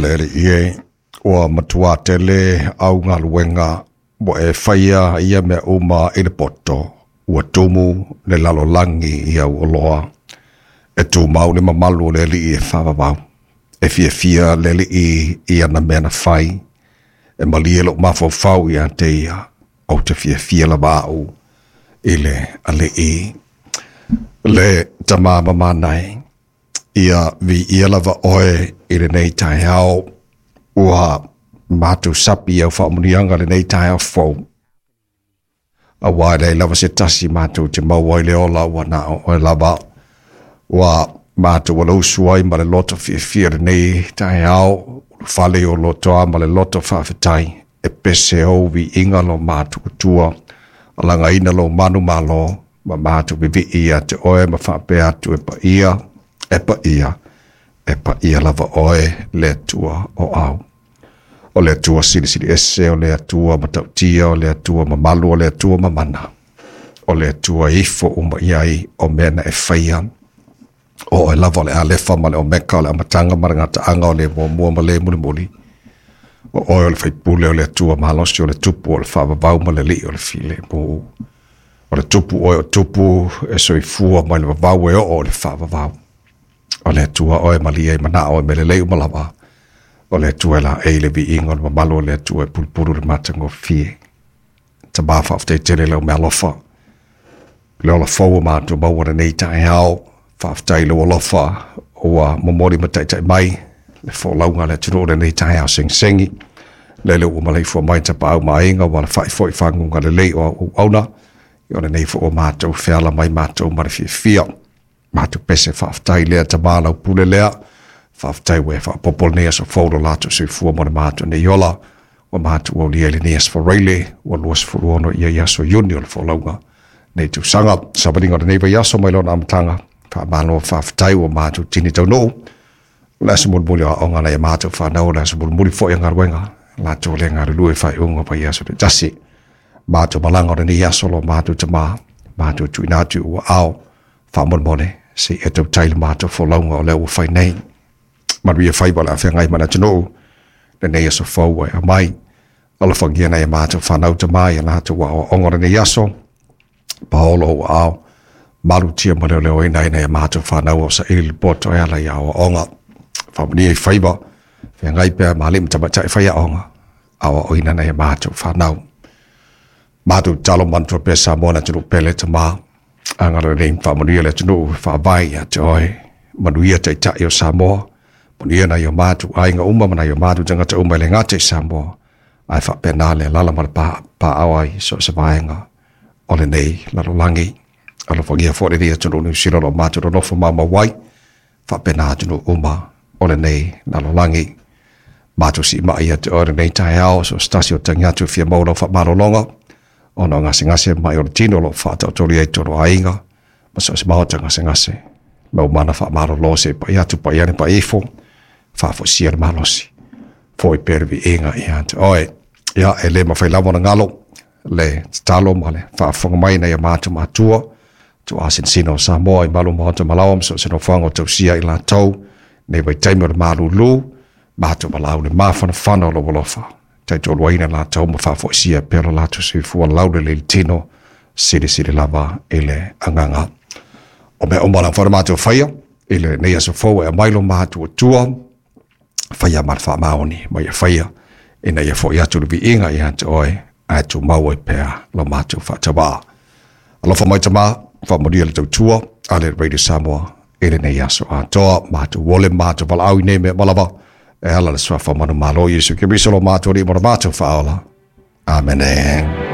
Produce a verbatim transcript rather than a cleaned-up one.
Le alii e, ua matuā tele au galuega ua e faia ia mea uma i le poto, ua tumu le lalolagi i au oloa. E tumau le mamalu o le alii e faavavau, e fiafia le alii i ana mea na fai, e malie lou mafaufau ia te ia, ou te fiafia lava au i le alii. Le Tama mamana e, ia viia lava oe i lenei taeao, ua matou sapi au faamanuiaga lenei taeao fou. Auā e leai lava se tasi matou te maua ai le ola ua na o oe lava. Ua matou alausu ai ma le loto fiafia lenei taeao, ulufale i o lotoa ma le loto faafetai, e pese ou viiga lo matou Atua, alagaina lou manumalo, ma matou vivii ia te oe ma faapea atu e paia, e paia, e paia lava oe le Atua o au. O le Atua silisili ese, o le Atua matautia, o le Atua mamalu, o le Atua mamana. O le Atua ifo uma i ai o mea na e faia. O oe lava o le Alefa ma le Omeka, o le amataga ma le gataaga, o le muamua ma le mulimuli. O oe o le faipule o le Atua malosi, o le tupu o le faavavau ma le alii o le filemu. O le tupu oe o tupu e soifua mai le vavau e oo o le faavavau. O le Atua oe malie ai manao e mea lelei uma lava. O le Atua e laei le viiga o le mamalu o le Atua e pulupulu le matagofie. Tama faafetai tele lau mealofa. Le ola fou o matou maua lenei taeao. Faafetai lou alofa ua momoli ma taitai mai le folauga a le atunuu lenei taeao segisegi. Lele ua maleifua mai tapaau ma aiga ua alafai foi faguga lelei o auaunaga. O lenei foi ua matou feala mai matou ma le fiafia. Matou pese faafetai lea Tama lau pule lea. Faafetai ua e faaopoopo lenei aso fou lo latou soifua mo le matou nei ola. Ua matou aulia i lenei aso Faraile, ua luasefulu ono ia i aso Iuni o le folauga nei tausaga. Savaliga o lenei vaiaso mai lona amataga. Faamalo faafetai ua matou tini taunuu. O le aso mulimuli o aoga nai a matou fanau, o le aso mulimuli foi o galuega. Latou le galulue faaiuga o vaiaso taitasi. Matou malaga o lenei aso lo matou Tama, matou tuuina atu i ou aao, faamolemole, se i e tautai le matou folauga o lea ua fai nei. Manuia faiva o le a feagai ma le atunuu, lenei aso fou ua e aumai. Alofagia nai a matou fanau Tama i a latou aoaoga o lenei aso, paolo ou aao, malutia ma leoleoina ai nai a matou fanau o saili le poto e ala i aoaoga. Faamanuia i faiva, feagai pea ma alii ma tamaitai faiaoga, aoaoina nai a matou fanau. Matou tatalo manatua pea Samoa le atunuu pele Tama, agalelei ma faamanuia le atunuu e faavae ia te oe. Manuia taitai o Samoa, manuia nai o matou aiga uma ma nai o matou tagata uma e le gata i Samoa, ae faapena le alaala ma le paao ai so o se vaega o lenei lalolagi. Alofagia foi lenei atunuu Niu Sila o lo o matou nonofo maumau ai, faapena atunuu uma o lenei lalolagi. Matou siimai ia te oe lenei taeao, so o se tasi o tagi atu e fia maua lau faamalologa, ona o gasegase mai o le tino o lo o faataotolia i totonu o aiga, ma so o se maota gasegase. Lau mana faamalolo se i pai atu, pai ane, pai ifo, faafoisia le malosi. Foi pea le viiga ia te oe. Ia, e le mafai lava ona galo le tatalo ma le faafofoga mai nai a matou matua, tuuasinasina o Samoa i malu maota malaoa ma so o se nofoaga o tausia i latou, nei vaitaimi o le malūlū, matou valaau le mafanafana o lou alofa. Taitoaluaina latou ma faafoisia pea lo latou soifua laulelei i le tino, silisili lava i le agaga. O mea uma lava na matou faia i lenei aso fou e aumai lo matou Atua, faia ma le faamaoni ma ia faia ina ia foi atu le viiga ia te oe, ae tumau ai pea lo matou faatauā. Alofa mai Tama, faamanuia le tautua a le Radio Samoa i lenei aso atoa. Matou ole matou valaau i nei mea uma lava, e ala i le suafa manumalo o Iesu Keriso lo matou Alii ma lo matou Faaola. Amene.